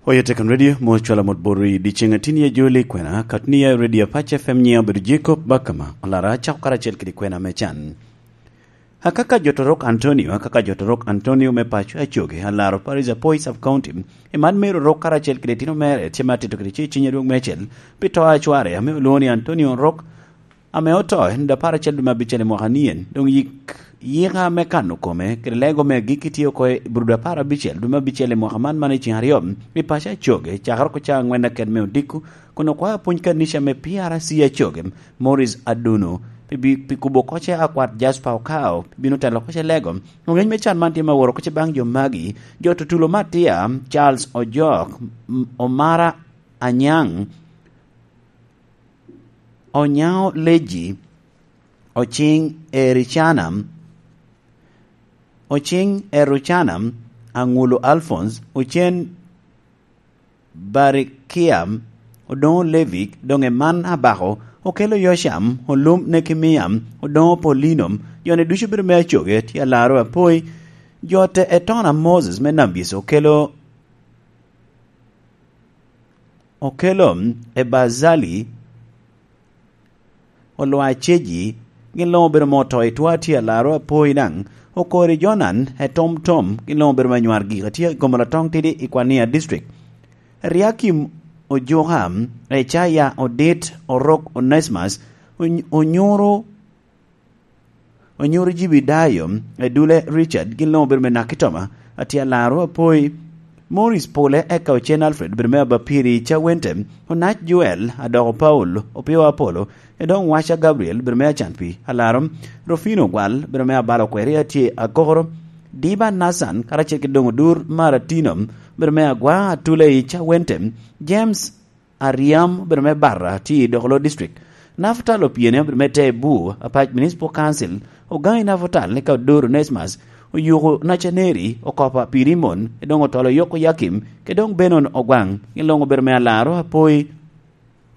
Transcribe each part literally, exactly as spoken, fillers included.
Oyo Tekan Radio, mot cwalo mot bot i dyeceŋ a tin ya joli kwena, kat ni ya Radio Apac F M nyiŋ obedo Jacob Bakama, olara acako karacel kede kwena me can. Akaka Joto Rok Antonio, akaka Joto Rok Antonio me paco Acoge, alaro Paris Apoy Sub County, i man mero Rok karacel kede tino mere, tye ma tito kede ce ciny adwoŋ mecel, pi to a cware, ame olwoŋo ni Antonio Rok, ame oto en dwe apar acel dwe me abicel i mwaka nien, doŋ yik, yika me kano kome, kede lego me agikki tye oko i Brudo apar abicel dwe me abicel i mwaka man, man i ceng aryo, i paco Acoge, cakere oko ca angwen aked me odiko, kun okwao apwony kanica me P R C Acoge, Morris Aduno, pi bi-, pi kubo koce akwat Jasper Okao, pi bino telo koce lego. Oŋeny me can man tye ma woro koce baŋ jo magi, jo tutulo Matia, Charles Ojok, M-, Omara Anyaŋ, Onyaŋo Leji, Ociŋ Ericana, Ociŋ Erucana, Aŋulu Alphonse, Ocen Barikia, Odoŋo Levi, doŋ Eman Abako, Okelo Yocam, Olum Nekemia, Odoŋo Paulino, jo-ni ducu bedo me Acoge, tye alaro Apoy, jo te Etona Moses me Nambis, Okelo, Okelo Ebazali, Olwa Ceji, gin luŋ obedo ma oto i twa tye alaro Apoy daŋ, Okori Jonan, Etom Tom, gin luŋ obedo ma nywar gik a tye i Gomola Toŋ Tidi i Kwania District. Riakim Ojuka, Ecaya Odit, Orok Onesmus, Ony-, Onyuru, Onyuru Jibidayo, Edule Richard, gin luŋ obedo me Nakitoma, Atyalaro Apoy, Morris Pole, eka Ocen Alfred, obedo me Abapiri Cawente, Onac Joel, Adoko Paul, Opio Apolo, Edong Waca Gabriel, obedo me Acanpi, Alaro, Rufino Gwal, obedo me Abalo Kweri, atye Agoro, Diba Nathan, karacel ki doŋ Odur Maratino, obedo me Agwa, Atule i Cawente, James Aryam, obedo me Barra, tye i Dokolo District. Nafutal Opiene, obedo me Tebu, Apac Municipal Council, Ogangi Nafutal, eka Odur Onesmus, Oyuko Nacaneri, Okopa Pirimon, Edong Otolo Yoko Yakim, Kedong Benon Ogwaŋ, gin luŋ obedo me Alaro Apoy,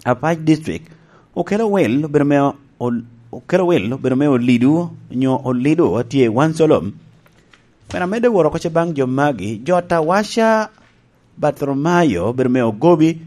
Apac District. Okelo Wil, obedo me Ol-, Okelo Wil, obedo me Olidu, nyo Olidu, atye i Wansolom. Pien amedde woro oko ce baŋ jo magi, jo Tawaca Bartholomayo, obedo me Ogobi,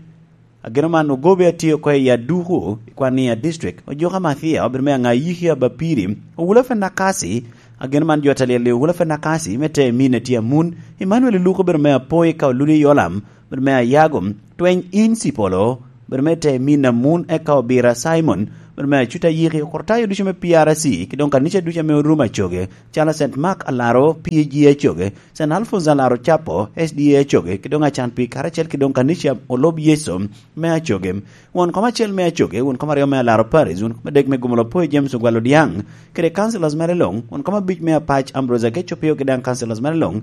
ageno man Ogobi atye oko i Aduku, i Kwania District, Ojuka Mathia, obedo me Aŋayiki Abapiri, Owula Fenakasi, ageno man jo Talyel i Owula Fenakasi, me te min atye Amun, Emmanuel Luku, obedo me Apoy ka Oludi Yolam, obedo me Ayago, Tweny Insipolo, obedo me te min Amun, eka Obira Simon, obedo me Acuta Yiki, Okortayo ducu me P R C, ki doŋ kanica ducu ame orumo Acoge, calo Saint Mark Alaro, P A G Acoge, Saint Alphonse Alaro Capo, S D A Acoge, ki doŋ Acan Pi karacel ki doŋ kanica Olob Yecu me Acoge. Won kom acel me Acoge, won kom aryo me Alaro Paris, won kom adek me Gomolo Apoy James Ogwal Odiaŋ, kede councillors mere luŋ, won kom abic me Apac Ambrose Akeco Pio, kede daŋ councillors mere luŋ.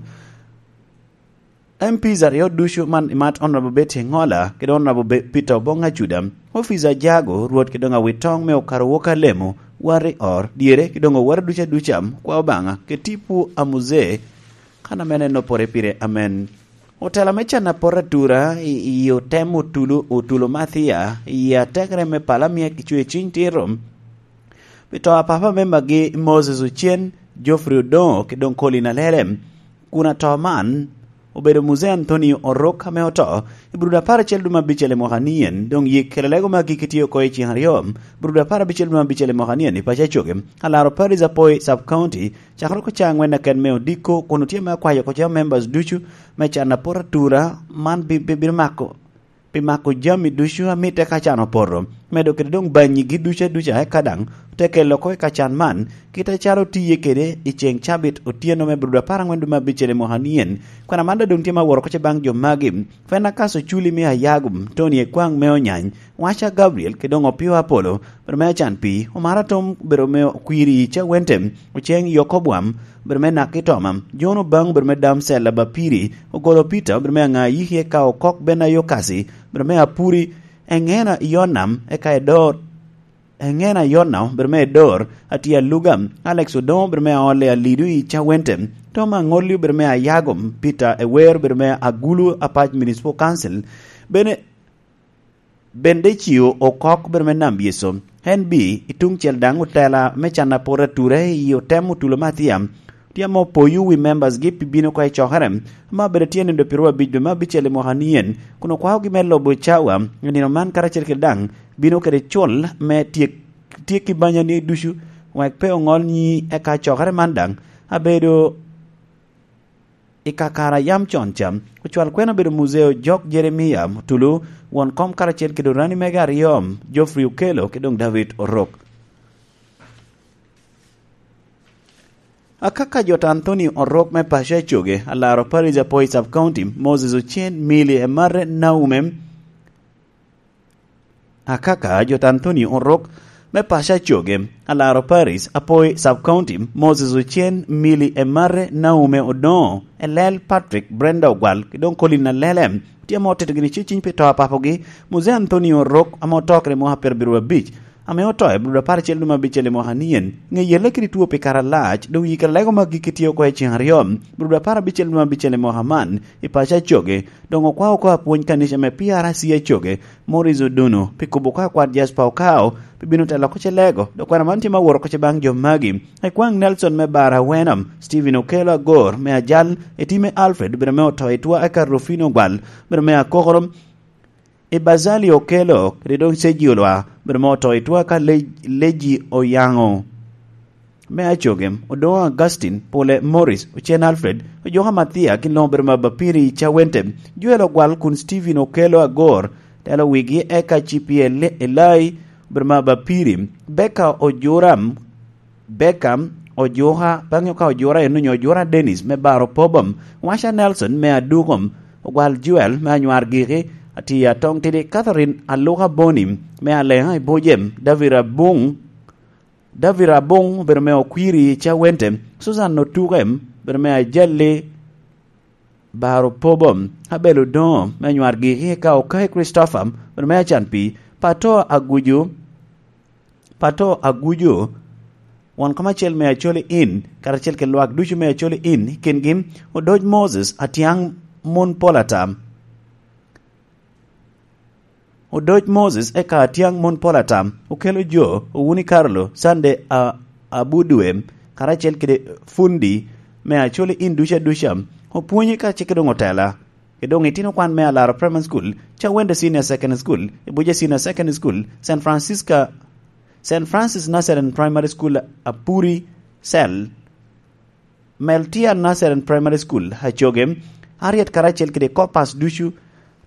M Ps aryo ducu man, i mat Honorable Betty Ngola, kede Honorable Be-, Peter Obong Acuda, Officer Ajago, Rwot kede doŋ awit toŋ me okaro wok alemo, wari or, dyere, kede doŋ owara ducu aduca, kwa Obaŋa, kede tipo a Muzee, kan a mene en opore pire, amen. Otela me can apot atura i, i otem otulo, otulo Mathia, i atekere me pala mia ki cwe ciny tito, pi to a papa me magi Moses Ocen, Geoffrey Odongo, ki doŋ Colin Alele. Kun ato man obedo Muzee Anthony Orok ame oto i Brudo apar acel dwe me abicel i mwaka nien, doŋ yik kede lego magi kitye oko i ceng aryo, Brudo apar abicel dwe me abicel i mwaka nien i paco Acoge, alaro Paris Apoy Sub County, cakere oko ca angwen aken me odiko, kun otye me akwayo oko ca members ducu me can apot atura man bi-, bi-, bino mako pi mako jami ducu a mitte ka can opoto, medo kede doŋ banyigi ducu aduca, eka daŋ te kelo oko i ka can man, kit acalo otiye kede i ceŋ cabit otyeno me Brudo apar aŋwen dwe me abicel i mwaka nien. Kwena man daŋ doŋ tye ma woro oko ce baŋ jo magi, Fenakaso Culi me Ayagum, Tony Ekwaŋ me Onyany, Waca Gabriel, kede doŋ Opio Apolo, obedo me Acan Pi, Omara Tom, obedo me Okwiri Cawente, Oceng Yokobwam, obedo me Naki Toma, John Obaŋ, obedo me Damsel Abapiri, Ogolo Peter, obedo me Aŋayiki, eka Okok Ben Ayokasi, obedo me Apuri, Eŋena Yonam, eka Edor, Eŋena Yonam, obedo me Edor, Atia Luga, Alex Odongo, obedo me Aole Alidu i Cawente, Tom Aŋolli, obedo me Ayagom, Peter Ewer, obedo me Agulu Apac Municipal Council, bene Bende Cio Okok, obedo me Nam Yecu, N B, i tuŋ cel daŋ otela me can apot ature i otem otulo Mathia, Tye ame opoyo wi members-gi pi bino oko i cokere, ame obedo tye nino pyeraryo abic dwe me abicel i mwaka nien, kun okwaogi me lubo cawa i nino man karacel kede daŋ bino kede cul me tyek, tyekki banyani ducu, wek pe oŋol nyi eka cokere man daŋ abedo i kakare a yam con ca. Ocwal kwena obedo Muzeo Jok Jeremia Mutulu, won kom karacel kede orani mege aryo, Geoffrey Okello kede doŋ David Orok. Akaka Jot Anthony Orok me paco Acoge, Alaro Parish, Apoi Sub County, Moses Ocen Mili, Emare Naume, Akaka Jot Anthony Orok me paco Acoge, Alaro Parish, Apoi Sub County, Moses Ocen Mili, Emare Naume Odongo, Elel Patrick, Brenda Ogwal, ki doŋ Colin Alele. Tye ame otito gini ceciny pi to a papogi, Muzee Anthony Orok, ame oto kede mwaka pyerabiro abic, ame oto i Abril apar acel dwe me abicel i mwaka nien. Ŋe yelle kede two pi kare alac, doŋ yikere lego maggi ki tye oko i ceŋ aryo, Abril apar abicel dwe me abicel i mwaka man, i paco Acoge, doŋ okwao oko apwony kanica me P R C Acoge, Morris Oduno, pi kubo oko akwat Jasper Okao, pi bino telo oko ce lego, dok kwena man tye me awot oko ce baŋ jo magi. Ekwaŋ Nelson me Bara Wenham, Stephen Okello Agor me Ajal, Etime Alfred, bedo me oto i twa eka Rufino Ogwal, bedo me Akokoro, Ibazali Okello, kede doŋ Sergio Lwa, bedo me oto i twa eka Le-, Leji Oyaŋo me Acoge, Odongo Augustine, Pule Morris, Ocen Alfred, Ojoka Mathia, gin luŋ obedo me Abapiri i Cawente, Joel Ogwal kun Stephen Okello Agor, telo wigi eka C P L Elai, obedo me Abapiri, Becca Ojuram, Beckham, Ojuka, bang'e ka Ojura en onyo Ojura Dennis me Baro Pobom, Washa Nelson me Adukom, Ogwal Joel me Anywar Giki, Atiya Atong Tidi, Catherine Aluka Boni me Aleŋa i Bujem, David Abung, David Abung obedo me Okwiri i Cawente, Susan Otuke obedo me Ajalli, Baro Pobom, Abel Odongo me Anywar Giki, ka Okai Christopher obedo me Acan Pi, Pato Aguju, Pato Agujo, won kom acel me Acholi Inn, karacel kede lwak ducu me Acholi Inn, i kingi Odoc Moses, Atiaŋ Mon Pol Atam. Odoc Moses eka Atiaŋ Mon Pol Atam, Okelo Jo, Owuni Carlo, Sande a-, Abudue, karacel kede Fundi me Acholi Inn ducu aduca, opwonye kacel kede doŋ otela. Kede doŋ itino kwan me Alaro Primary School, Cawende Senior Secondary School, Ibuja Senior Secondary School, Saint Francisca, Saint Francis Nazarene Primary School, Apuri Cell, Meltia Nazarene Primary School, Ajoge, Harriet karacel kede Corpus ducu,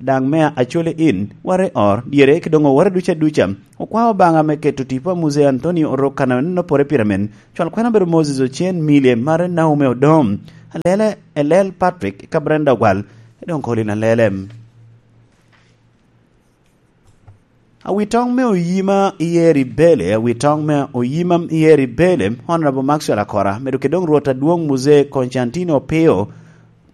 daŋ me Acholi Inn, ware or, dyere, kede doŋ oware ducu aduca. Okwao Obaŋa me keto tipo a Muzee Anthony Orok kan aneno pore pire men. Cwal kwena obedo Moses Ocen Milye, Mare Naume Odom, Alele, Elel Patrick, ka Brenda Ogwal, Edong Colin Alele. Awitoŋ me oyima i Eri Bele, awitoŋ me oyima i Eri Bele, Honorable Maxwell Akora, medo kede doŋ Rwot Adwoŋ Muzee Constantino Opio,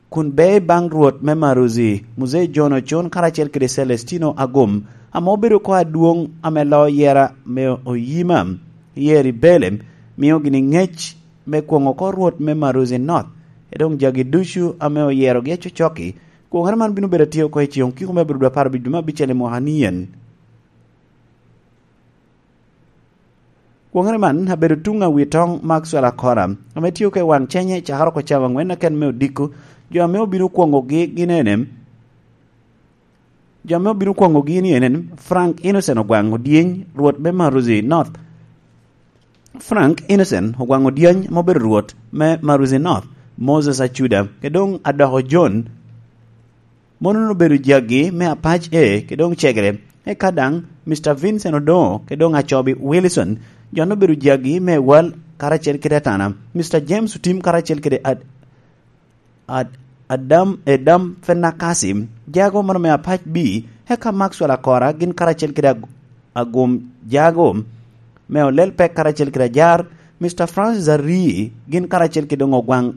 kun be baŋ Rwot me Maruzi, Muzee John Ocon karacel kede Celestino Agum, ame obedo oko adwoŋ ame loo yera me oyima i Eri Bele, mio gini ŋec me kwoŋo oko Rwot me Maruzi North, e doŋ jagi ducu ame oyerogi acocokki. Kwoŋere man bino bedo atye oko i ceŋ okiko me abirudo apar abic dwe me abicel i mwaka ni en. Kwoŋere man abedo tuŋ awitoŋ Maxwell Akora, ame tye oko i waŋ cenye cakere oko cawa angwen aken me odiko. Jo ame obino kwoŋogi gin ene, jo ame obino kwoŋogi ni ene, Frank Innocent Ogwaŋ Odyeny, Rwot me Maruzi North. Frank Innocent Ogwaŋ Odyeny, ame obedo Rwot me Maruzi North, Moses Acuda, kede doŋ Adoko John, mono obedo jagi me Apac A, kede doŋ Cegere, eka daŋ Mister Vincent Odongo, kede doŋ Acobi Wilson, jo-nu obedo jagi me Wal karacel kede Atana, Mister James Otim karacel kede Ad-, Ad-, Adam, Edam Fenakasi, jago mono me Apac B, eka Maxwell Akora, gin karacel kede Ag-, Agum jago, me Olel Pek karacel kede Ajar, Mister Francis Arii, gin karacel kede doŋ Ogwaŋ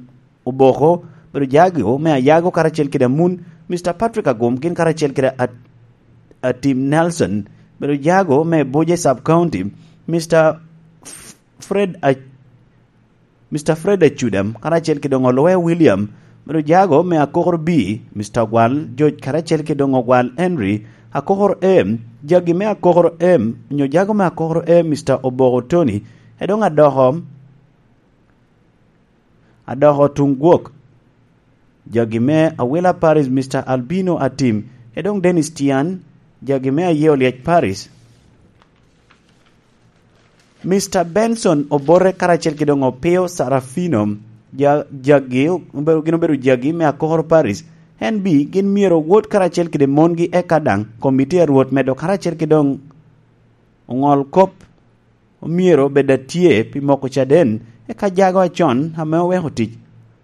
Oboko, bedo jago me Ayago karacel kede Amun, Mister Patrick Agum, gin karacel kede At-, Atim Nelson, bedo jago me Buje Sub County, Mister F-, Fred A-, Mister Fred Acudam, karacel kede doŋ Oloya William, bedo jago me Akokoro B, Mister Gwal George, karacel kede doŋ Ogwal Henry, Akokoro A, jagi me Akokoro A, nyo jago me Akokoro A, Mister Oboko Tony, e doŋ Adoko, Adoko tuŋ gwok, jagi me Awila Paris, Mister Albino Atim, kede doŋ Dennis Tian, jagi me Aye Olyec Paris. Mister Benson Obote karacel kede doŋ Opio Sarafino, ja-, jagi obedo, gin obedo jagi me Akokoro Paris. En bi, gin myero owot karacel kede mongi, eka daŋ komiti a Rwot medo karacel kede doŋ oŋol kop omyero bed atye pi moko caden, eka jago acon ame oweko tic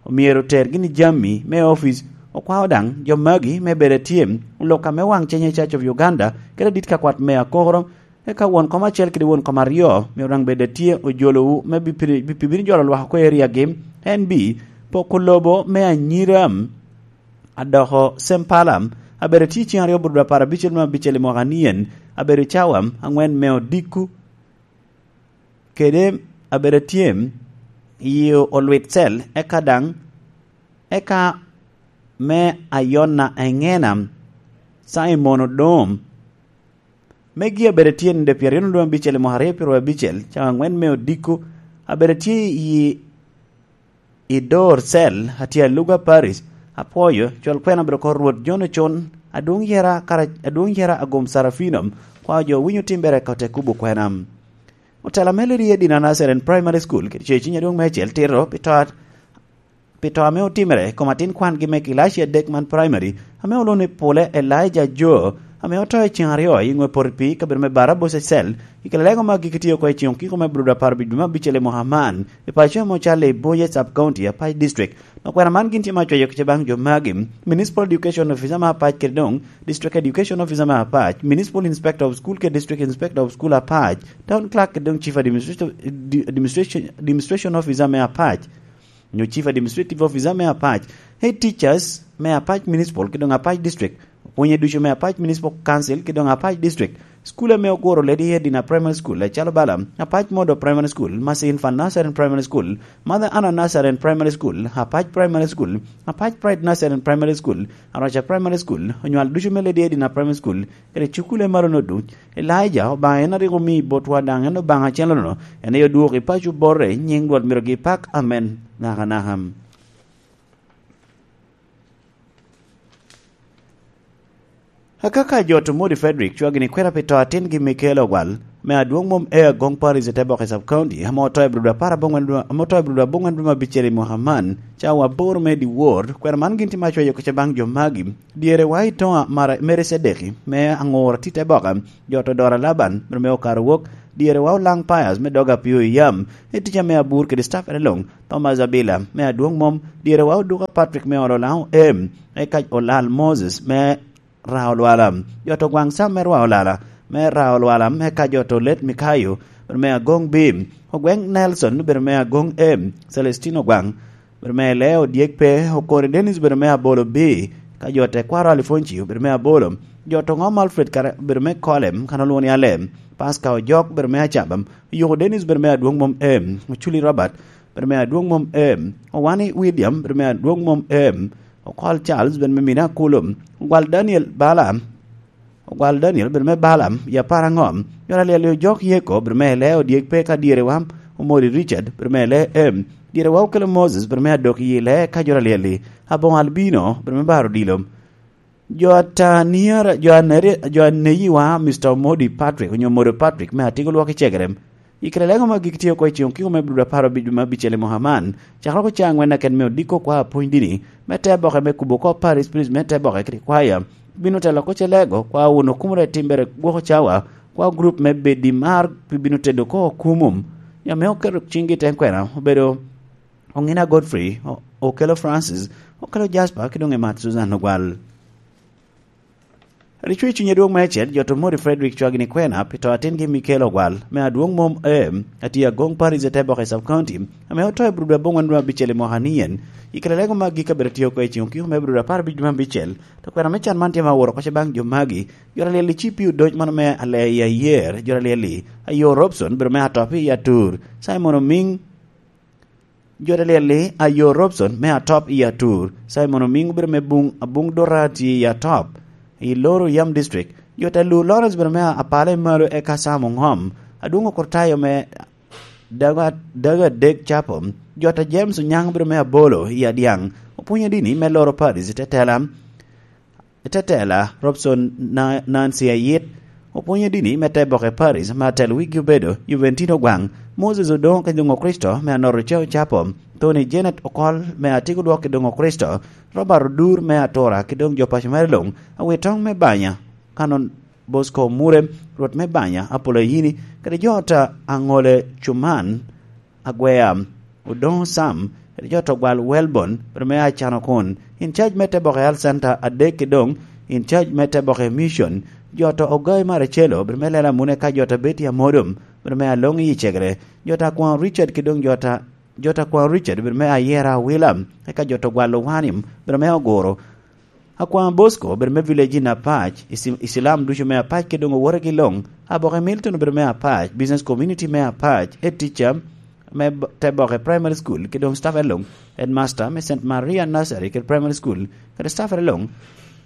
omyero ter gini jami me opic. Okwao daŋ jo magi me bedo atye olok ame waŋ cenye Church of Uganda kede dit ka kwat me Akokoro, eka won kom acel kede won kom aryo myero daŋ bed atye ojolowu me bi-, bi-, bi-, bino jolo lwak oko i eriagi. En bi poko lobo me anyira adoko Sempala, abedo tye ceŋ aryo bur dwe apar abicel me abicel i mwaka nien, abedo cawa aŋwen me odiko, kede abedo tye i olwit cel, eka daŋ, eka me ayona eŋena, Simon Odom. Me gi abedo tye nede pyeraryo nodwoŋ abicel i mwaka aryo pyeraryo abicel, cawa aŋwen me odiko, abedo tye i i dor cel, atye aluga Paris, apwoyo, cwal kwena obedo kor Rwot John Ocon, adwoŋ yera kara-, adwoŋ yera agom Sarafino, kwao jo winyo timbere ka ote kubo kwena. Otela me Lady Edina Nursery and Primary School, kede ceciny adwoŋ me acel tito, pi to, pi to ame otimere, kom atin kwangi me kilaci adek man primary, ame olwoŋo ni Pule Elijah Joe, ame oto i ceŋ aryo i ŋwe poto pii i kabedo me Barabos Cell, i kare lego ma gik itiyo oko i ceŋ okiko me Budo apar abic dwe me abicel i mwaka man, i paco ame ocalo i Bunye Sub County, Apac District. Okwena man gin tye ma cwayo kica baŋ jo magi, Municipal Education Officer me Apac kede doŋ District Education Officer me Apac, Municipal Inspector of School kede District Inspector of School Apac, Town Clerk kede doŋ Chief Administration, Administration, Administration Officer me Apac, nyo Chief Administrative Officer me Apac, Head Teachers me Apac Municipal kede doŋ Apac District, opwonye ducu me Apac Municipal Council kede doŋ Apac District, school ame oguro Lady Edina Primary School, acalo bala, Apac Model Primary School, Mercy Infant Nursery and Primary School, Mother Anna Nursery and Primary School, Apac Primary School, Apac Pride Nursery and Primary School, Araca Primary School, onywal ducu me Lady Edina Primary School, kede cukule malo no duc. Elijah, Obaŋa en a rik omi botwa daŋ en Obaŋa acel-nono, en aye odwoko i paco bote, nyiŋ Rwot myero gipak, amen, nakanaka. Akaka jo Tomodi Frederick cwagini kwena pi to atingi Michael Ogwal, me adwoŋ mom e Agong Parish i Teboke Sub County, ame oto i Budo apar aboŋwen, ame oto i Budo aboŋwen dwe me abicel i mwaka man, cawa aboro me dyewor, kwena man gin tye ma cwayo kica baŋ jo magi. Dyere wa i Toŋa Mara-, Mary Cedeki, me Aŋur Tite Boka, jo to Dora Laban, bene me Okaro Wok, dyere wa Olaŋ Pius, me Doga Pio i Yam, i tica me Abur kede staff ene luŋ, Thomas Abila, me Adwoŋ Mom, dyere wa Oduka Patrick, me Olo Laŋ Em, eka Olal Moses, me Rao Lwala, jo to Gwaŋ Sam, me Rwao Lala, me Rao Lwala, eka jo to Let Mikayo, bene me Agoŋ Bim, Ogweŋ Nelson, bene me Agoŋ Em, Celestino Gwaŋ, obedo me Leo Dyek Pe, Okori Dennis obedo me Abolo B, ka jo tekwaro Alifonci obedo me Abolo, jo to Ŋom Alfred kara obedo me Kolem, kan olwoŋo ni Alem, Pasca Ojok obedo me Acabam, Oyuko Dennis obedo me Adwoŋ Mom M, Oculi Robert obedo me Adwoŋ Mom M, Owani William obedo me Adwoŋ Mom M, Okol Charles obedo me Mina Akulum, Ogwal Daniel Bala, Ogwal Daniel obedo me Balaam, i apar aŋom. Jot alyel-li Ojok Yeko obedo me Lee Odyek Pe ka dyere wa, Omori Richard obedo me Lee Em. Dyere wa Okelo Moses obedo me Adok i Lee ka jot alyel-li, Aboŋo Albino obedo me Baro Odilo. Jo ata niara, jo aneri, jo aneyi wa, Mister Omodi Patrick, onyo Omodi Patrick me Atigo Lwok i Cegerem. I kare lego ma gik tye oko i ceŋ okiko me Budo apar abic me abicel i mwaka man, cakere oko cawa aŋwen aken me odiko kwa apwony dini, me te boke me kubo oko Paris Priest me te boke kede kwaya, bino telo oko celego, kwa wun okumere timbere gwoko cawa, kwa group me bedi mar pi bino tedo oko okumum. Ame oketo ciŋgi i te kwena, obedo Oŋina Godfrey, O-, Okelo Francis, Okelo Jasper, ki doŋ Emat Susan Ogwal. Ricwe i cuny adwoŋ me acel, jo to Mori Frederick cwagini kwena pi to atingi Mikel Ogwal, me Adwoŋ Mom M, atye Agoŋ Parish i Teboke Sub County, ame oto i Budo aboŋwen dwe abicel i mwaka ni en. I kare lego magi ka bedo tye oko i ceŋ okiko me Budo apar abic dwe abicel, to kwena me can man tye ma oworo oko baŋ jo magi, jo alyel-li ci pi odoc mano me ale i ayer, jo alyel-li, Ayo Robson, bedo me Atop i Atur, Simon Omiŋ, Jot alyel-li, Ayo Robson me Atop i Atur, Simon Omiŋ obedo me buŋ, abuŋ Dorati i Atop, i Loro Yam District. Jot Alu Lawrence obedo me Apala i Malo eka Sam Oŋom, Adwoŋ Okurtayo me Dago, Dago Adek Capo, Jota James Onyango bedo me abolo i Adyaŋ, opwonyo dini me loro Paris i tetela. I tetela, Robson Na-, Nancy Ayit opwonyo dini me te boke Paris, me atelo wigi obedo Juventino Gwaŋ, Moses Odongo ki doŋ Okricito me anoro Ceo Capo, Tony Janet Okol me atiko lwok ki doŋ Okricito, Robert Odur me atura ki doŋ jo paco mere luŋ, Awitoŋ me Banya, Kanon Bosco Mure, Rwot me Banya, Apolo Ayini, kede jo ota Aŋole Cuman, Agwea, Odoŋo Sam, kede jo to gwal Welbon, bedo me Acano kun, in charge me te boke Health Center adek ki doŋ, in charge me te boke Mission, jo to Ogai Maracelo, bedo me Lela Mune ka jo to Betty Amodom, bedo me Aloŋ i Cegere, jo to Akwaŋ Richard ki doŋ jo to, jo to Akwaŋ Richard, bedo me Ayera Awila, eka jo to gwal Owanim, bedo me Oguro, Akwaŋ Bosco obedo me village in Apac, isi-, Isilam ducu me Apac ki doŋ owote ki loŋ. Aboke Milton obedo me Apac, business community me Apac, head teacher me b-, te boke primary school ki doŋ staff e loŋ, headmaster me Saint Maria Nursery kede primary school kede staff e loŋ,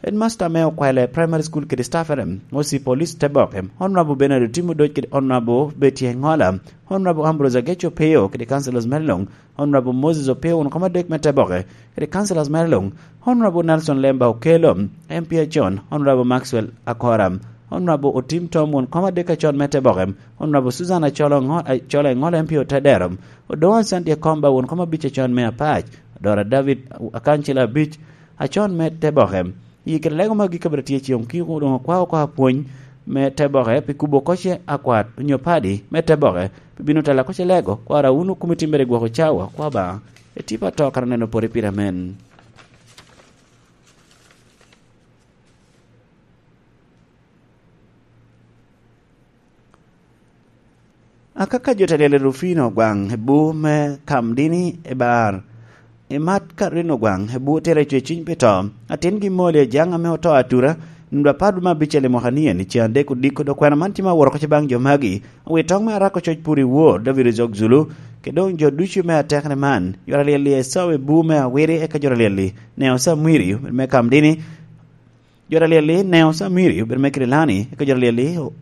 headmaster me Okwele primary school kede staff e, O C police te boke, Honorable Bernard Otimo Doc kede Honorable Betty Engola, Honorable Ambrose Ageco Peo kede councillors me loŋ, Honorable Moses Opio won koma dek me te boke, kede councillors mere luŋ, Honorable Nelson Lemba Okello, M P acon, Honorable Maxwell Akora, Honorable Otim Tom won koma dek acon me te boke, Honorable Susan Acholo Ngo-, Acholo Engola M P Otedero, Odoŋo Sandy Akomba won koma abic acon me Apac, Dora David Akancila abic acon me te boke. I kede lego magi ka bene tye ceŋ okiko doŋ okwao oko apwony me te boke pi kubo koce akwat onyo padi me te boke pi bino tela koce lego kwara wun okumi timbere gwoko cawa kwa ba etipa to kara neno pore pire amen. Akaka jo ta lyel i Rufino gwaŋ i bu me Kamdini i bar. I mat Karino gwaŋ i bu tira i cweciny pi to. Atin gi moli ajaŋ ame oto atura, nunda pat ma abicel i mwaka nien i cen adek odiko dok kwena man tye ma woro koca baŋ jo magi. Wi toŋ me arako coc pur i wor, David Rizok Zulu, ke doŋ jo ducu me atekne man. Jo ta lyel i Esau i bu me awiri eka jo ta lyel i Neo Samwiri me Kamdini. Jo ta lyel-li Neo Samiri obedo me Kirilani, eka jo ta lyel-li o-,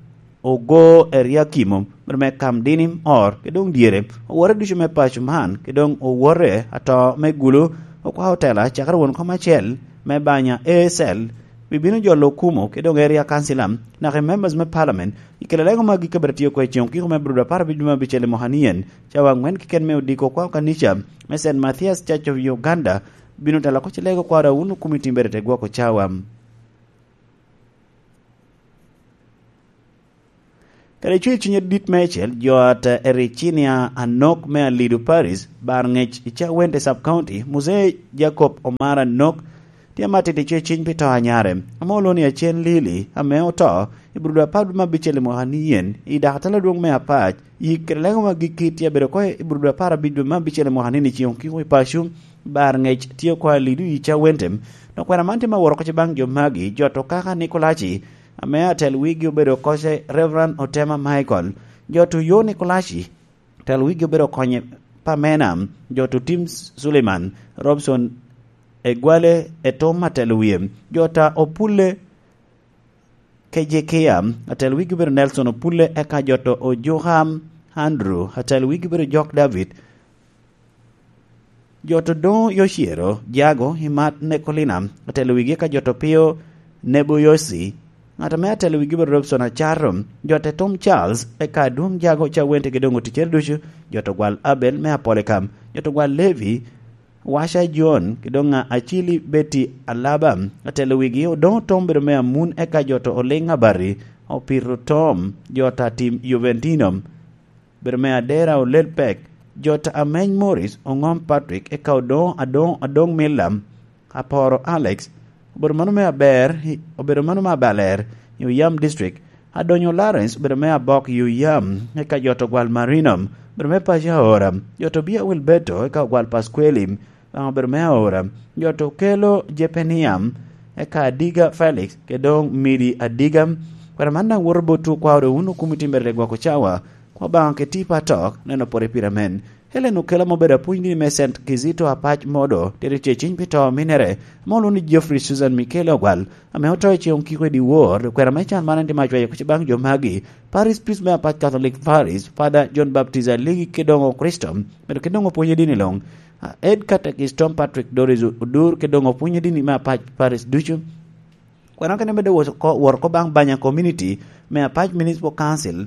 Ogo Eriakim obedo me Kamdini Or, ke doŋ dyere, owote ducu me paco man, ke doŋ owote ato me Gulu, okwao tela, cakere won kom acel me banya A S L, bibino jolo okumo, ke doŋ Area Council, naka i members me Parliament, i kela lego magi ka bene tye oko i ceŋ okiko me Bruda apar abic me abicel i mwaka nien, cawa aŋwen keken me odiko okwao kanica me Saint Mathias Church of Uganda, bino tela koc lego kwara wun okumi timbere te gwoko cawa. Kadi cwer cwiny adit meicel, jo ata Ericinia Anok me Alido Paris, bar ngec i Cawente Sub County, Muzee Jacob Omar Anok, tye amatit i cwer cwiny pi to anyare, ame olwoŋo ni Acen Lili, ame oto i Brudo apar me abicel i mwaka ni yen, i dakatala adwoŋ me Apac, yik kede lego ma gikki tye abedo oko i Brudo apar abic me abicel i mwaka ni ni ceŋ okiko i paco, bar ngec tye oko Alido i Cawente. Dok kwena man tye ma woro oko baŋ jo magi, jo to kaka Nikolaci, ame atel wigi obedo koce Reverend Otema Michael, jo to yo Nikolaci, atel wigi obedo konye Pamena, jo to Tim Suleiman, Robson Egwale, Etom atel wie, jo ta Opulle, Kejekia, atel wigi obedo Nelson Opulle, eka jo to Ojuka Andrew, atel wigi obedo Jok David, jo to doŋ Yocero, Jago, Imat, Nekolina, atel wigi eka jo to Pio, Nebo Yosi, ŋat ame atel wigi obedo Robson Acato, jo te Tom Charles, eka adwoŋ Jago Cawente ki doŋ oticere ducu, jo to gwal Abel me Apolikam, jo to gwal Levi, Waca John, ki doŋ a Acili Betty Alaba, atel wigi, Odoŋo Tom obedo me Amun, eka jo to Oliŋ Abati, Opito Tom, jo ta Tim Juventino, obedo me Adera Olel Pek, jo ta Ameny Morris, Oŋom Patrick, eka Odoŋo Adoŋ Adoŋ Milla, Aporo Alex, obedo mano me aber, obedo mano me aber i Oyam District, Adonyo Lawrence obedo me Abok i Oyam, eka jo to gwal Marino, obedo me paco Aora, jo to Bia Wilberto, eka ogwal Pasqueli, Obaŋa obedo me aora. Jo to kelo Jepenia, eka Adiga Felix, kede doŋ Midi Adiga. Kwena man daŋ woto botwu okwa ore wun okumi timbere gwoko cawa, kwa Obaŋa keti pa atok, neno pore pire amen. Helen Okello ame obedo apwony dini me Saint Kizito Apac Modo, tito tye ciny pi to minere, ame olwoŋo ni Geoffrey Susan Michael Ogwal, ame oto i ceŋ okiko i dyewor. Kwena me can man en tye me acwayo kuc baŋ jo magi: Parish Priest me Apac Catholic Parish, Father John Baptist Aligi, kede doŋ Okricito, medo kede doŋ opwonye dini luŋ. Head Catechist Tom Patrick Doris Odur, kede doŋ opwonye dini me Apac Parish ducu. Kwena kene medde wot oko, wot oko baŋ Banya Community me Apac Municipal Council.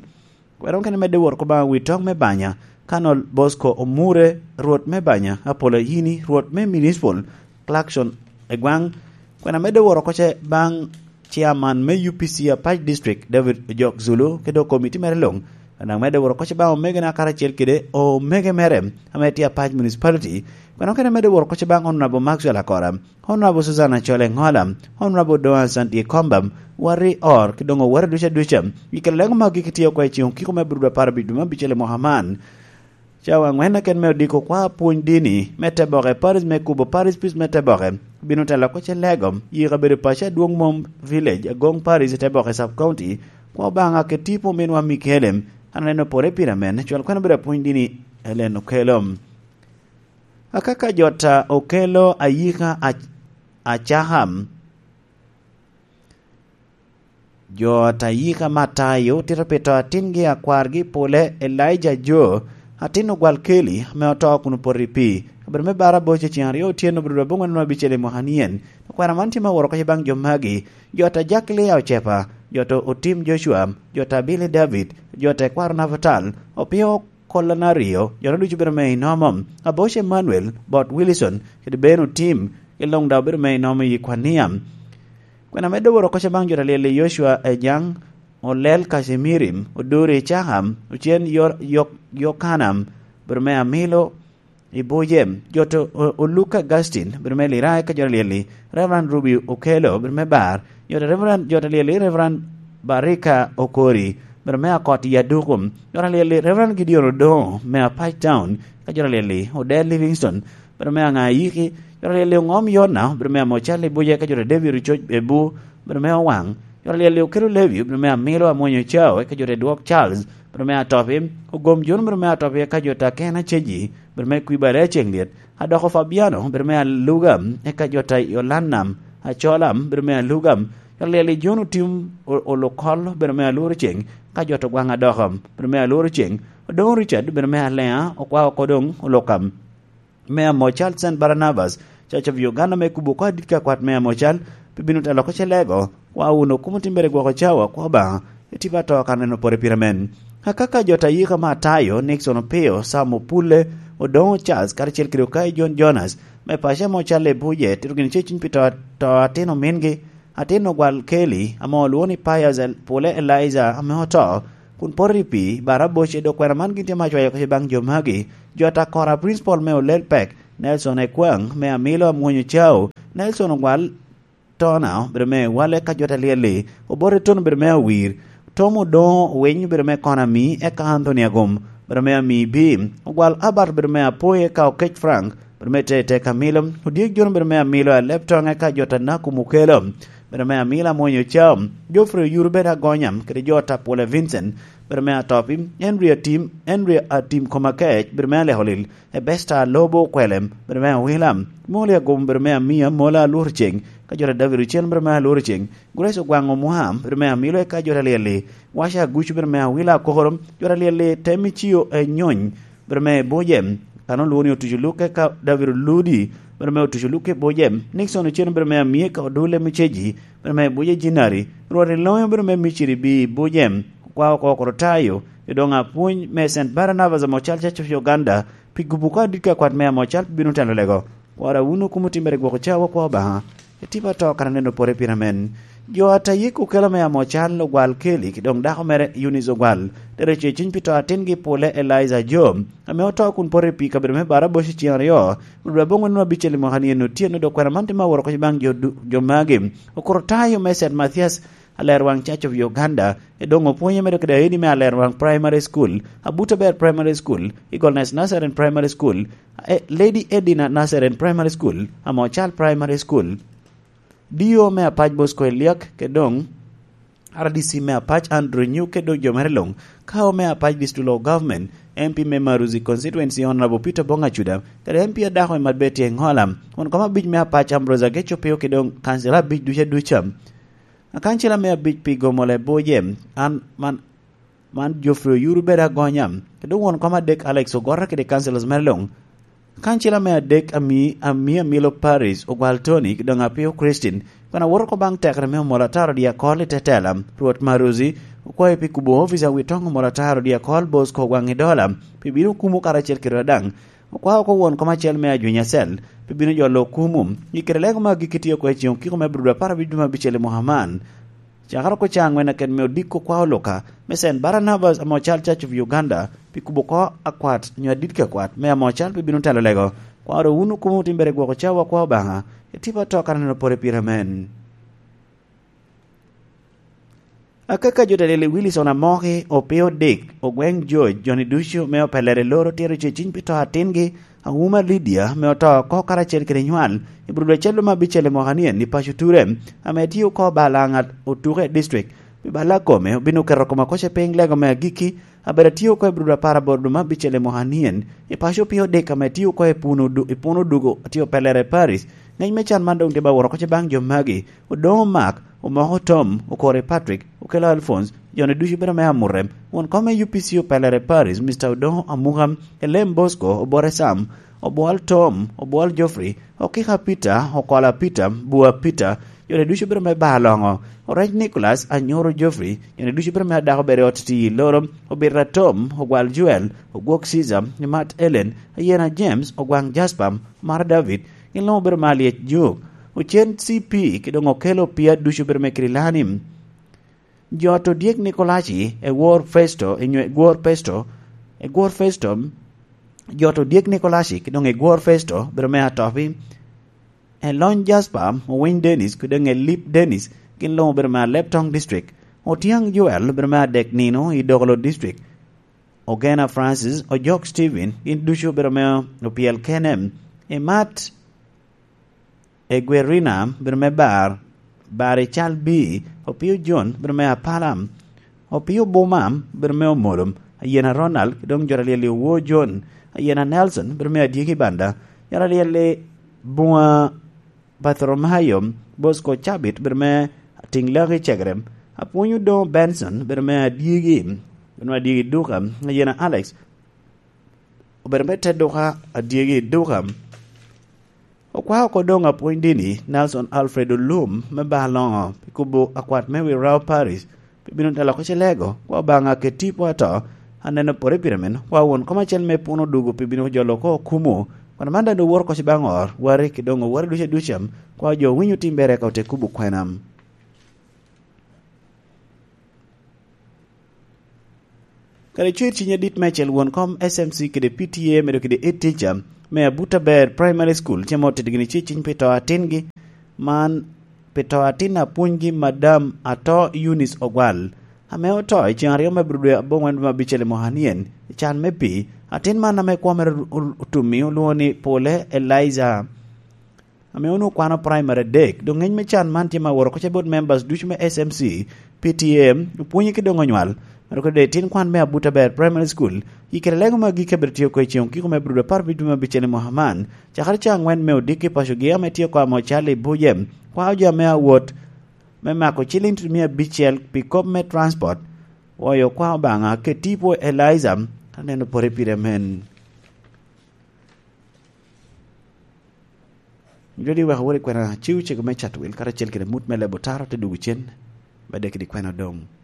Kwena kene medde wot oko baŋ wi tok me Banya, Colonel Bosco Omure, Rwot me Banya, Apollo Ayini, Rwot me Municipal, Clarkson Egwaŋ. Kwena medde wot oko ce baŋ Chairman me U P C Apac District, David Ojok Zulu, kede doŋ komiti mere luŋ. Kwena medde wot oko ce baŋ omegona karacel kede omege mere ame tye Apac Municipality. Kwena kene medde wot oko ce baŋ Honorable Maxwell Akora, Honorable Susan Achole Ŋola, Honorable Doan Santi Komba, Wari Or, kede doŋ owere ducu aduca. I kare lego magi kitye oko i ceŋ okiko me Aburudu apar abic dwe me abicel i mwaka man. Cawa aŋwen keken me odiko kwa pwony dini me Teboke Parish me kubo Parish Priest me Teboke, bino telo oko ce lego i kabedo paco adwoŋ Mom Village, Agong Parish, i Teboke Sub County, kwa Obaŋa kede tipo ominwa Mikelem, an aneno pore pire amen, cwal kwena bedo apwony dini Helen Okello. Akaka jo ta Okello ayika a-, acakam. Jo ta yika Matayo tito pi to atingi akwargi pole Elijah Jo, atin ogwal Keli, ame oto kun opoto i pii. Kabedo me bara boc i ceŋ aryo otyeno, obedo aboŋwen abicel i mwaka nien. Okwena man tye me woro oko baŋ jo magi: jo ta Jack Lia Ocepa, jo ta Otim Joshua, jo ta Billy David, jo ta Ekwaro Navutal, Opio Kolana Rio, jo ta ducu bedo me inomo, Aboc Emmanuel, Bot Wilson, kede Ben Otim, gin luŋ daŋ obedo me inomo i Kwania. Kwena medde woro oko baŋ jo ta lyel i Joshua Ejaŋ, Olel Kacimirim, Oduri Cakam, Ocen Yo-, Yok-, Yokanam, bedo me Amilo, i Bujem, jo ta O-, Oluka Augustine, bedo me Lira, eka jo ta lyel i Reverend Ruby Okello, bedo me Bar, jo ta Reverend, jo ta lyel i Reverend Barika Okori, bedo me Akot i Adukum, jo ta lyel i Reverend Gideon Odongo, me Apac Town, eka jo ta lyel i Odel Livingston, bedo me Aŋa Ayiki, jo ta lyel i Oŋom Yona, bedo me Amocal i Buje, eka jo ta David Ococ Ebu, bedo me Owaŋ, jo ta lyel i Okello Levi, bedo me Amilo Amwonyo Cao, eka jo ta Dwok Charles, bedo me Atopi, Ogom Jon, bedo me Atopi, eka jo ta Kena Ceji, bedo me Kwibare Aceŋ Lyet, Adoko Fabiano, bedo me Aluga, eka jo ta Yolanam Acolam, bedo me Aluga, jo ta lyel i Jon Otim O-, Olokol, bedo me Alworo Ceŋ, ka jo ta Gwaŋ Adoko, bedo me Alworo Ceŋ, Odoŋo Richard, bedo me Aleŋa, okwa oko doŋ Olokam, me Amocal Saint Barnabas Church of Uganda, me kubo oko adit ka kwat me Amocal, pi bino telo oko ce lego, kwa wun okumo timbere gwoko cawa, kwa Obaŋa, i tipo ato kan en opore pire men. Akaka jo ta yika Matayo, Nixon Opio, Sam Opulle, Odoŋo Charles, karacel kede Okai John Jonas, me paco ame ocalle i Buje, tito gin ce cuny pi to, to atin omingi, atin ogwal Keli, ame olwoŋo ni Pius El-, Pule Eliza, ame oto, kun poto i pii, bara boce, dok kwena man gin tye me acwayo oko baŋ jo magi, jo ta Kora Principal me Olel Pek, Nelson Ekwaŋ, me Amilo Amwonyo Cao, Nelson Ogwal, Tona, bedo me Wale ka jo ta lyel-li, Obote Tony, bedo me Awir, Tom Odoŋo Owiny, bedo me Konami, eka Anthony Agum, bedo me Ami Bi, Ogwal Albert, bedo me Apoy, eka Okec Frank, bedo me Tete Kamilo, Odyek Jon, bedo me Amilo Alep Toŋ, eka jo ta Naku Mukelo, bedo me Amilo Amwonyo Cao, Geoffrey Oyuru, bedo Agonya, kede jo ta Pule Vincent, bedo me Atopi, Henry Atim, Henry Atim Komakec, bedo me Alekolil, Ebesta Lobo Okwelem, bedo me Awila, Moli Agum, bedo me Amia, Mola Alworo Ceng, ka jo ta David Ocen, bedo me Alworo Ceng, Grace Ogwaŋ Omwam, bedo me Amilo, eka jo ta lyel-li, Washa Agucu, bedo me Awila Akokoro, jo ta lyel-li, Temicio Enyony, bedo me Buje, kan olwoŋo ni Otuco Luk, eka David Oludi, bedo me Otuco Luk i Buje, Nixon Ocen, bedo me Amia, eka Odule Miceji, bedo me Buje Jinari, Rwot Iloŋo, bedo me Miciri Bi Buje, kwa oko Okorotayo, i doŋ apwony me Saint Barnabas Amocal Church of Uganda, pi gubo oko adit ka kwat me Amocal pi bino telo lego. Kwara wun okumo timmere gwoko cawa kwa Obaŋa, i tipo ato kan aneno pore pire men. Jo a ta yik okelo me Amocal Ogwal Keli, ki doŋ dako mere Eunice Ogwal, tere ce cuny pi to atingi Pule Eliza Jo, ame oto kun poto i pii kabedo me Baraboc i ceŋ aryo, Rwot aboŋo nino abicel i mwaka ni en otyeno, dok kwena man tye me aworo oko baŋ jo du-, jo magi. Okorotayo me Saint Mathias Alerwaŋ Church of Uganda, i doŋ opwonye medo kede aidi me Alerwaŋ Primary School, Abuto Ber Primary School, Eagleness Nazarene Primary School, e, Lady Edina Nazarene Primary School, Amocal Primary School. Dio me Apac Bosco Eliak, kede doŋ R D C me Apac Andrew Nyuke, dok jo mere luŋ, Kao me Apac District Local Government, M P me Maruzi Constituency Honorable Peter Bongacuda, kede M P adako i Madbeti Engola, won kom abic me Apac Ambrose Ageco Pio, kede doŋ kancila abic ducu aduca. Akancila me abic pi Gomole Boje, an man, man Geoffrey Oyuru bedo agonya, kede won kom adek Alex Ogora kede councillors mere luŋ. Kancila me adek ami, ami Amilo Paris, Ogwal Tony, doŋ Apio Christine, kun awoto oko baŋ tekere me omolo ataro dyakol i tetela, Rwot Maruzi, okwayo pi kubo ofica wi toŋ omolo ataro dyakol Bosco Ogwaŋ i Dola, pi bino kumo karacel kede daŋ. Okwao oko won kom acel me Ajwiny Acel, pi bino jolo okumu, i kede lego me agikki tye oko i ceŋ okiko me Abril apar abic dwe me abicel i mwaka man. Cakere oko ca aŋwen aket me odiko kwa oluka, me Saint Barnabas ame ocal Church of Uganda, pi kubo oko akwat, nyo adit ka kwat, me ame ocal pe bino telo lego. Kwa oro wun okumo otimbere gwoko cawa kwa Obaŋa, i tipo ato kara neno pore pire amen. Akaka jo Tadele Wilson Amoki, Opio Dick, Ogweng George, joni ducu me opelere loro tiro ce ciny pi to atingi, Auma Lydia, me oto oko karacel kede nywal, i Abril acel me abicel i mwaka ni en i paco Ture, ame tye oko bala ŋat otuke i district. Pi balla kome, obino keto kome oko ce piny lego me agikki, abedo atye oko i Abril apar aboro dwe me abicel i mwaka ni en, i paco Opio Dick ame tye oko i Puno Du-, i Puno Dugo, tye opelere i Paris. Ngec me can man doŋ tye ba woro oko ce baŋ jo magi, Odoŋo Mark, Omoko Tom, Okori Patrick, Okelo Alphonse, joni ducu bedo me Amurem, won kom me U P C opelere Paris, Mister Odoŋo Amuka, Elem Bosco, Obore Sam, Obwol Tom, Obwol Geoffrey, Okika Peter, Okola Peter, Bua Peter, joni ducu bedo me Baloŋo, Orec Nicholas, Anyoro Geoffrey, joni ducu bedo me Adako bedo i ot tii loro, Obita Tom, Ogwal Joel, Ogwok Caesar, Mat Ellen, Ayena James, Ogwaŋ Jasper, Mara David, gin luŋ obedo me Alyec Juk, Ocen C P, ki doŋ Okelo Pia ducu obedo me Kirilani. Jot Odyek Nikolaci, Egwor Festo, inyo Egwor Festo, Egwor Festo, Jot Odyek Nikolaci, ki doŋ Egwor Festo, obedo me Atopi. Elony Jasper, Owiny Dennis, ki doŋ Elip Dennis, gin luŋ obedo me Alep Town District. Otyang Joel, obedo me Adek Nino, i Dokolo District. Ogena Francis, Ojok Stephen, gin ducu obedo me Opyel Kenem. Emat Egwerina, obedo me Bar, Bar Ical B, Opio John, obedo me Apala, Opio Buma, obedo me Omolom, Ayena Ronald, ki doŋ jot alyel i Owo John, Ayena Nelson, obedo me Adyegi Banda, jot alyel i Bunga Bartholomayo, Bosco Cabit, obedo me Tiŋ Laki Cegerem, Apwony Odoŋo Benson, obedo me Adyegi, obedo me Adyegi Duka, Ayena Alex, obedo me te duka Adyegi Duka. Okwao oko doŋ apwony dini, Nelson Alfred Olum, me Baloŋo, pi kubo akwat me Wirao Parish, pi bino telo oko ce lego, kwa Obaŋa ket tipo ato, aneno pore pire men, kwa won kom acel me puno dugo pi bino jolo oko okumu, kun man daŋ owoto oko ce baŋ or, wari ki doŋ owari duce ducem, kwa jo winyo timbere ka ote kubo kwenam. Kadi cwer ciny adit me acel won kom S M C kede P T A medo kede ed teacher me Abuta Ber Primary School, ce ma otito gini ce ciny pi to atingi, man pi to atin apwonygi Madam Ato Eunice Ogwal, ame oto i ceŋ aryo me Abril dwe aboŋwen dwe me abicel i mwaka nien, i can me pii. Atin man ame kwo mere otummi olwoŋo ni Pole Eliza, ame onwoŋo kwano praimari adek. Doŋ ŋeny me can man tye ma woro oko ce bot members ducu me S M C, P T A, opwonye ki doŋ onywal. Medo kede tin kwan me Abuta Ber Primary School, i kede lego me agikki abedo tye oko i ceŋ okiko me Abril apar abic dwe me abicel i mwaka man, cakere ca aŋwen me odiki pacogi ame tye oko ame ocal i Bujem, kwao jo ame awot me mako ciliŋ tutumia abicel pi kop me transport. Woyo kwa Obaŋa, ket tipo Eliza, ka neno pore pire men. Jodi wek awot i kwena ciw cego me Chatwil, karacel kede mut me lebo taro te dugo cen, me dek kede kwena doŋ.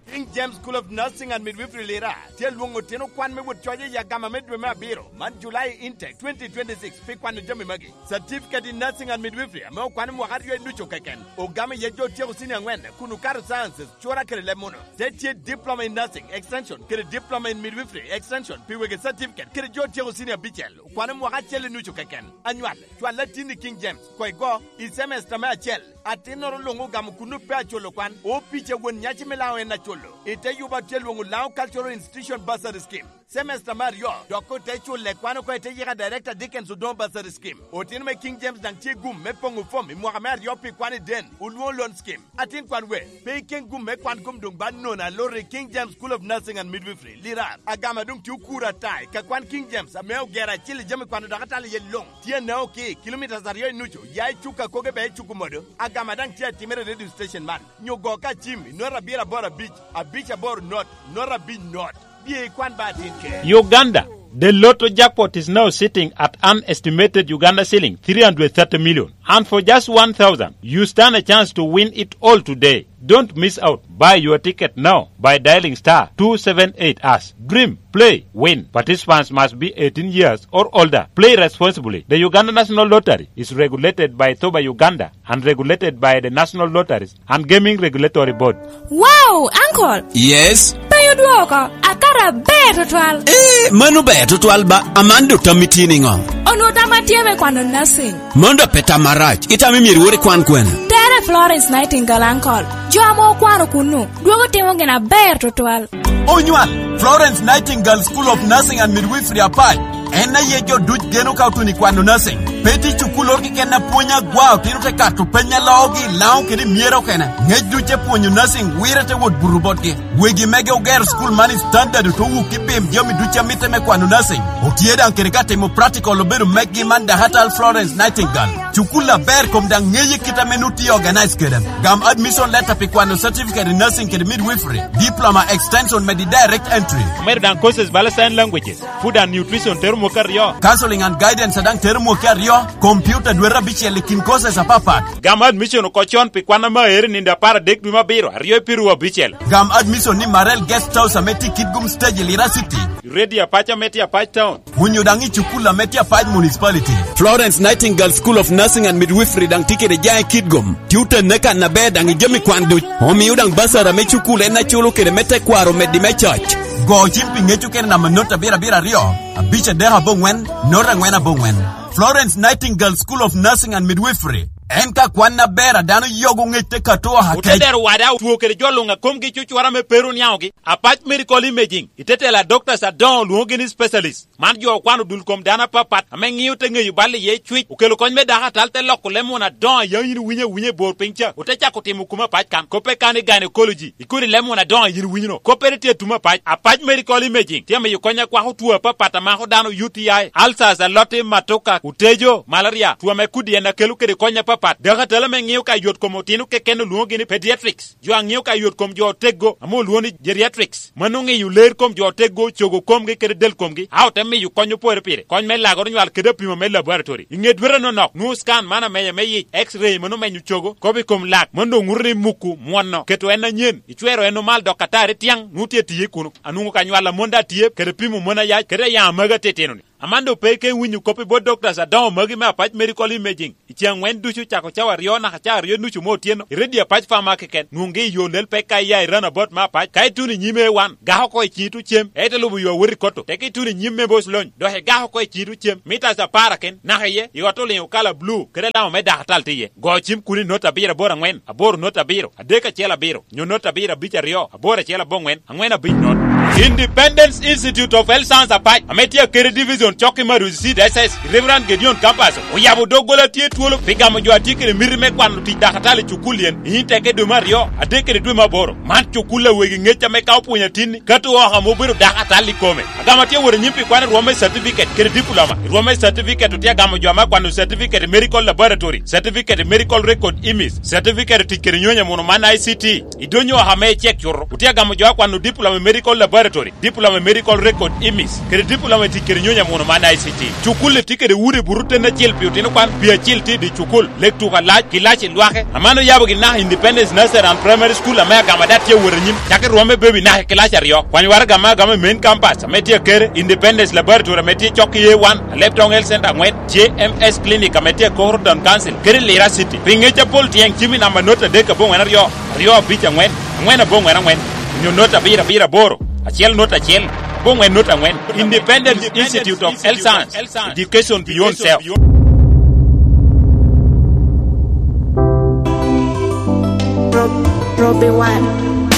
King James School of Nursing and Midwifery Lira tye lwoŋo otino kwan me wot coc i agama me dwe me abiro man, July intake twenty twenty-six, pi kwano jami magi. Certificate in Nursing and Midwifery ame okwano mwaka aryo i nucu keken, ogamo iye jo otyeko senior angwen kun okato sciences, cura kede leb muno. Te tye Diploma in Nursing Extension kede Diploma in Midwifery Extension pi wegi certificate kede jo otyeko senior abicel. Kwano mwaka acel i nucu keken. Anywal, cwal atin i King James, koŋ igo i semester me acel. Atinnoro luŋ ogamo kun pe aculo kwan, opic a won nyaci me Laŋo en aculo. I te yuba tye lwoŋo Laŋo Cultural Institution Bursary Scheme. Semester me aryo, dok ote culle kwan oko i te yika Director Dickens Odongo Bursary Scheme. Otino me King James daŋ tye gum me poŋo fom i mwaka me aryo pi kwan i den, olwoŋo loan scheme. Atin kwan we, pe iken gum me kwan gum doŋ ba nono aloro i King James School of Nursing and Midwifery, Lirar. Agama doŋ tye okuro ata i ka kwan King James ame ogero acil i jami kwano dok atalo iye luŋ. Tye anao ki kilomitas aryo i nucu, ya i Cuka koge bea i Cuku modo. Agama daŋ tye atimere i radio station man. Nyo go ka cim i not abiro aboro abic, abic aboro not, not abic not. Bye ikwan ba atin ke. Uganda, the lotto jackpot is now sitting at an estimated Uganda shilling three hundred thirty million. And for just one thousand, you stand a chance to win it all today. Don't miss out. Buy your ticket now by dialing star two seven eight hash. Dream, play, win. Participants must be eighteen years or older. Play responsibly. The Uganda National Lottery is regulated by Thoba Uganda and regulated by the National Lotteries and Gaming Regulatory Board. Wow, uncle! Yes? Pe odwoko, akato aber tutwal. Eh, mano ber tutwal ba, Amando tammi tye niŋo? Onwo tam atye me kwano nursing. Mano dok pe tam marac, itamo myero iwor ikwan kwene? Tere Florence Nightingale, uncle. Jo ame okwano kunnu, dwogo timo gin aber tutwal. Onywal, Florence Nightingale School of Nursing and Midwifery Apac. En aye jo duc geno ka otuno i kwano nursing. Pe tye cukul oro keken apwony agwa, otino te kato peny a loogi i Laŋo kede i Myero okene. Ngec duc te pwonyo nursing wire te wot buto botgi. Wegi mege ogero cukul man i standard ote wuk i pim jami duc a mitte me kwano nursing. Otye daŋ kede ka timo practical obedo mekgi man Dakatal Florence Nightingale. Cukul aber kom daŋ ŋeye kit ame nu tye organize kede. Gam admission letter pi kwano certificate in nursing kede midwifery, diploma extension medi direct entry. Omedo daŋ courses bala sign languages, food and nutrition tero mwaka aryo. Counseling and guidance daŋ tero mwaka aryo, computer dwete abicel i kin courses apapat. Gam admission oko con pi kwan ame aero i nino apar adek dwe me abiro, aryo i piru abicel. Gam admission ni Marel Guest House ame tye i Kitgum Stage i Lira City. Ready Apac ame tye Apac Town. Onyo daŋ i cukul ame tye Apac Municipality. Florence Nightingale School of Nursing and Midwifery daŋ tye kede jaŋ i Kitgum. Tye otenne kan aber daŋ i jami kwan duc. Omio daŋ basara me cukul en aculo kede me tekwaro meddi me coc. Go cim pi ŋec okene namba not abiro abiro aryo, abic adek aboŋwen, not aŋwen aboŋwen. Florence Nightingale School of Nursing and Midwifery. En ka kwan aber a dano yogo ŋec te kato oha kec. Otedero wada otwo kede jo luŋ a komgi cucwara me pero niaŋogi. Apac Medical Imaging, i te tela Doctors adoŋo olwoŋogi ni specialist. Man jo okwano dul kom dano apapat ame ŋio te ŋeyo bal iye cwic, okelo kony me dako atal te loko leb muna adoŋo a yam in iwinyo awinya i bor piny ca, ote cako timo kume apac kan. Koppe kan i gynecology, i kodi leb muna adoŋo a in iwinyo-no, koppere tye atum apac. Apac Medical Imaging tye amiyo kony akwako two apapat a mako dano, U T I, ulcers, aloti, matoka, otejo, malaria, two ame kodi en akelo kede kony apapat. Dako atal ame ŋio ka yot kom otino keken olwoŋogi ni pediatrics. Jo a ŋio ka yot kom jo oteggo ame olwoŋo ni geriatrics, mano ŋeyo ler kom jo oteggo, cogo komgi kede del komgi, a ote miyo kony opore pire, kony me lagoro nywal kede apimo me laboratory. I ŋe dwete anonok, nwoŋo scan man amenya me yic, X-ray mano menyo cogo, kop i kom lak, mano doŋ ŋuto ni muku, mwono, keto en anyen, icwero en omal dok atari tiaŋ, nwoŋo tye tiye kuno. Anwoŋo ka nywal a mon daŋ tye, kede pimo mon ayac, kede ayaŋ amagi atitino-ni. Amando pe ke winyo kop i bot doctors adoŋo magi me Apac Medical Imaging. I ce aŋwen ducu cako cawa aryo naka cawa aryo nucu me otyeno, i redio Apac Pharma keken, nwoŋgi i yo lel pek ka iya i roundabout me Apac, ka ituno i nyim A one, gak oko i ciŋi tucem, ite lubo yo awot i Koto, teke ituno i nyim me Boc Lony, dok igak oko i ciŋi tucem, mitas apar aken, naka iye, i ot oliŋo kala blue, kede alama me dakatal tye iye. Go cim kun i not abiro aboro aŋwen, aboro not abiro, adek acel abiro, nyo not abiro abic aryo, aboro acel aboŋwen, aŋwen abic not. Independence Institute of Health Science Apac, ame tye akeri division cok i Madusi City S S, Reverend Gideon Kampaso, oyabo doggola tye twolo pi gamo jo a tye kede miti me kwano tic dakatal i cukul yen, i Inteke dwe me aryo, adek kede dwe me aboro. Man cukul a wegi ŋec ame ka opwonyo atinni, ka to oko ame obedo dakatal i kome. Agamo tye wot anyim pi kwano rwom me certificate kede diploma. I rwom me certificate otye agamo jo ame akwano certificate i medical laboratory, certificate i medical record image, certificate i tic kede nyonyo muno man I C T. I donyo oko ame icek cuto, otye agamo jo akwano diploma i medical laboratory, diploma i medical record image, kede diploma i tic kede nyonyo muno man I C T. Cukul-li tye kede udi buto ten acel pi otino kwan, pi acel tye i dye cukul, lek tuko alac, kilaci lwake. Aman oyabo gin naka Independence Nursery and Primary School ame agamo ada tye awot anyim, cak i rwom me baby naka i kilaci aryo. Kwany waraga me agamo i main campus ame tye akere, Independence Laboratory ame tye cok i A one, Alebtong Health Center aŋwen, J M S Clinic ame tye akoro Town Council, kede Lira City. Pi ŋec apol tyeŋ cim i namba not adek aboŋwen aryo, aryo abic aŋwen, aŋwen aboŋwen aŋwen, onyo not abiro abiro aboro, acel not acel, aboŋwen not aŋwen. Independence Institute of Health Science, Education Beyond Self. Robbie One.